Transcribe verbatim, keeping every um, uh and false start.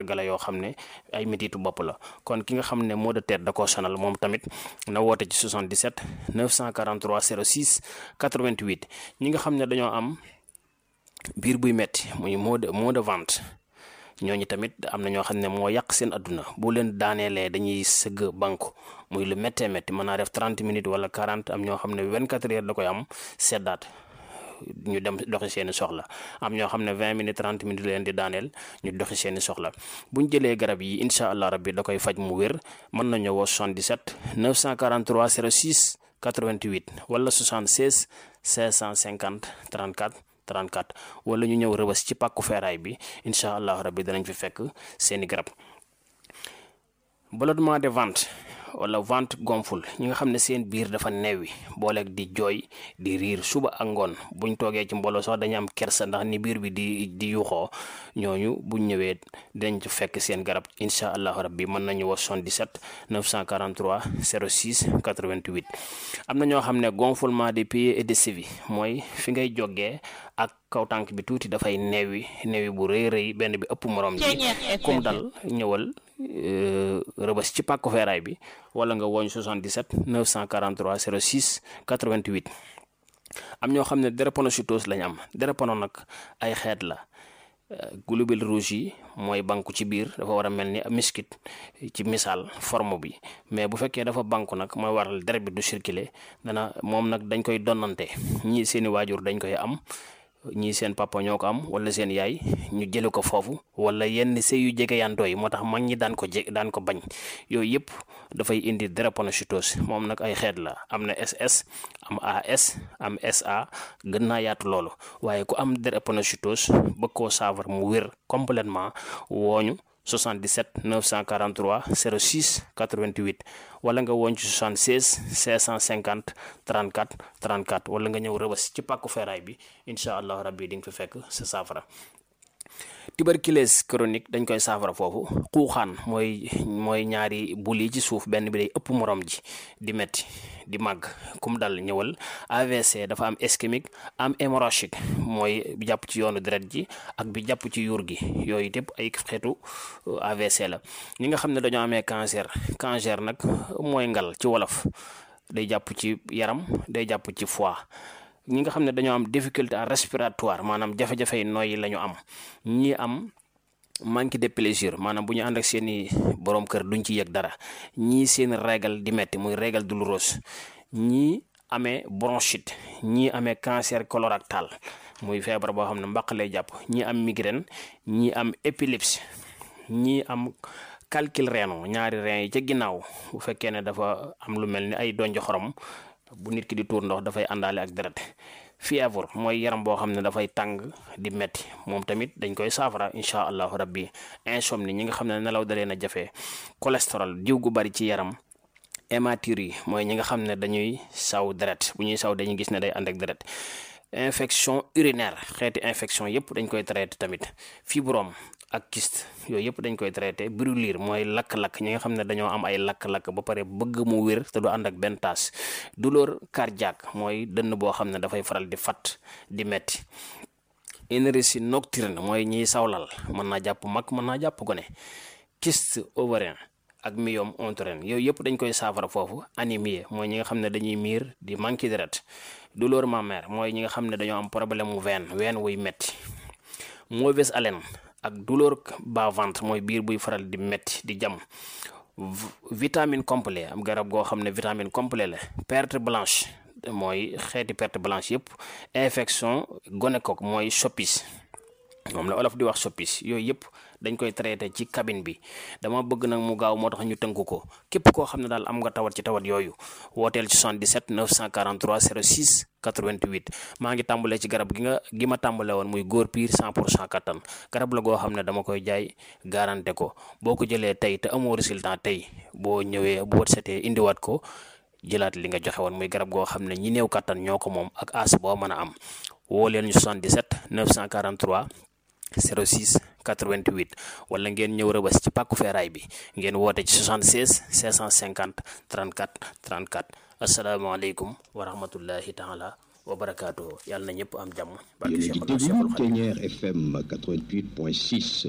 gala yoo xam ne ay métitu bopp la kon ki nga xam ne maux de tête da koo sonal moom tamit na woote ci soixante-dix-sept neuf cent quarante-trois zéro six quatre-vingt-huit ñi nga xam ne dañoo am biir buy metti muy maux de maux de ventre ñooñu tamit am na ñoo xam ne moo yàq seen adduna bu leen daaneelee dañuy sëgg banku muy lu méttee métti mën naa def trente minutes wala quarante am ñoo xam ne vingt-quatre heures da koy am seddaat ñu dem doxi seeni soxla am ñoo xam ne vingt minutes trente minutes leen di daaneel ñu doxi seeni soxla buñ jëlee garab yi incha allah rabbi da koy faj mu wér mën nañu woo soixante-dix-sept neuf cent quarante-trois zéro six quatre-vingt-huit wala soixante-seize cinq cent cinquante trente-quatre trente-quatre wala ñu ñëw rëbës ci pàkku feeraay bi incha allah rabbi danañ fi fekk seeni garab. ballonnement de ventre wala ventre gonfle ñi nga xam ne seen biir dafa neewi booleeg di jooy di riir suba ak ngoon buñ toogee ci mbooloo sax dañu am kersa ndax ni biir bi di di yuxoo ñooñu buñ ñëwee dañ ci fekk seen garab incha allahu rabbi mën nañu wax soixante-dix-sept neuf cent quarante-trois zéro six quatre-vingt-huit. am na ñoo xam ne gonflement des pieds et des chevilles mooy fi ngay jógee ak kaw tànk bi tuuti dafay neewi neewi bu rëy rëy benn bi ëpp morom ji kum dal ñëwal rëbës ci pàkku feeraay bi wala nga woñ soixante-dix-sept neuf cent quarante-trois zéro six quatre-vingt-huit. am ñoo xam ne drépanocytose lañ am drépano nag ay xeet la globules rouges yi mooy banku ci biir dafa war a mel ni miskit ci misaal forme bi mais bu fekkee dafa banku nag mooy waral deret bi du circuler dana moom nag dañ koy donnante ñii seeni waajur dañ koy am ñii seen papa ñoo ko am wala seen yaay ñu jële ko foofu wala yenn sëy yu jege yantoo yi moo tax mag ñi daan ko je daan ko bañ yooyu yëpp dafay indi drépanocytose moom nag ay xeet la am na S S am A S am S A gën naa yaatu loolu waaye ku am drépanocytose bëgg koo saafara mu wér complètement wooñu soixante-dix-sept neuf cent quarante-trois zéro six quatre-vingt-huit wala nga woon ci soixante-seize cinq cent cinquante trente-quatre trente-quatre wala nga ñëw rëbës ci pàkku feeraay bi incha allah rabbi di nga fi fekk sa saafara. tuberculose chronique dañ koy saafara foofu xuuxaan mooy mooy ñaari bul yi ci suuf benn bi day ëpp morom ji di metti di màgg kum dal ñëwal. A V C dafa am ischémique am hémorragique mooy bi jàpp ci yoonu deret ji ak bi jàpp ci yuur gi yooyu yëpp ay xeetu A V C la. ñi nga xam ne dañoo amee cancer cancer nag mooy ngal ci wolof day jàpp ci yaram day jàpp ci foie. ñi nga xam ne dañoo am difficulté respiratoire maanaam jafe-jafe yi nooyi la ñu am ñi am manque de plaisir maanaam bu ñu ànd ak seeni borom kër duñ ci yëg dara ñii seen régal di metti muy régal douloureuse ñii amee bronchite ñii amee cancer colorectal muy feebar boo xam ne mbaq lay jàpp ñii am migraine ñii am épilepsie ñii am calcul rénal ñaari rein yi ca ginnaaw bu fekkee ne dafa am lu mel ni ay donj xorom bu nit ki di tuur ndox dafay àndaale ak deret. fièvre mooy yaram boo xam ne dafay tàng di metti moom tamit dañ koy saafara incha allahu rabbi. insomnie ñi nga xam ne nelaw dalee na jafe. cholestérol diw gu bari ci yaram. hématurie mooy ñi nga xam ne dañuy saw deret bu ñuy saw dañuy gis ne day ànd ak deret. infection urinaire xeeti infection yëpp dañ koy traité tamit. fibrome ak kyste yooyu yëpp dañ koy traité. brûlure mooy lakk-lakk ñi nga xam ne dañoo am ay lakk-lakk ba pare bëgg mu wér te du ànd ak benn taas. douleur cardiaque mooy dënn boo xam ne dafay faral di fat di metti. énergie nocturne mooy ñiy sawlal mën naa jàpp mag mën naa jàpp gone. kyste ovarien ak myome utérin yooyu yëpp dañ koy saafara foofu. anémie mooy ñi nga xam ne dañuy miir di manqué deret. douleur mammaire mooy ñi nga xam ne dañoo am problème mu veine veine wuy metti. mauvaise haleine ak douleur bas ventre mooy biir buy faral di metti di jam. vitamine complet am garab goo xam ne vitamine complet la. perte blanche mooy xeeti perte blanche yëpp. infection gonocoque mooy soppis moom la olof di wax soppis yooyu yëpp dañ koy traité ci cabine bi. dama bëgg nag mu gaaw moo tax ñu tënk ko képp koo xam ne daal am nga tawat ci tawat yooyu wooteel ci soixante-dix-sept neuf cent quarante-trois zéro six quatre-vingt-huit. maa ngi tàmbalee ci garab gi nga gi ma tàmbale woon muy góor piir cent pour cent kattan garab la goo xam ne dama koy jaay garanté ko boo ko jëlee tey te amoo résultat tey boo ñëwee boo setee indiwaat ko jëlaat li nga joxe woon muy garab goo xam ne ñi néew kattan ñoo ko moom ak as boo mën a am woo leen ñu soixante-dix-sept neuf cent quarante-trois zéro six quatre-vingt-huit wala ngeen ñëw rëbës ci pàkku feeraay bi ngeen woote ci soixante-seize cinq cent cinquante trente-quatre trente-quatre. asalaamaaleykum wa rahmatullahi taala wa barakaatuhu yàlla na ñëpp am jàmm. barke Cheikhul Khadim. Ténière F M quatre-vingt-huit point six.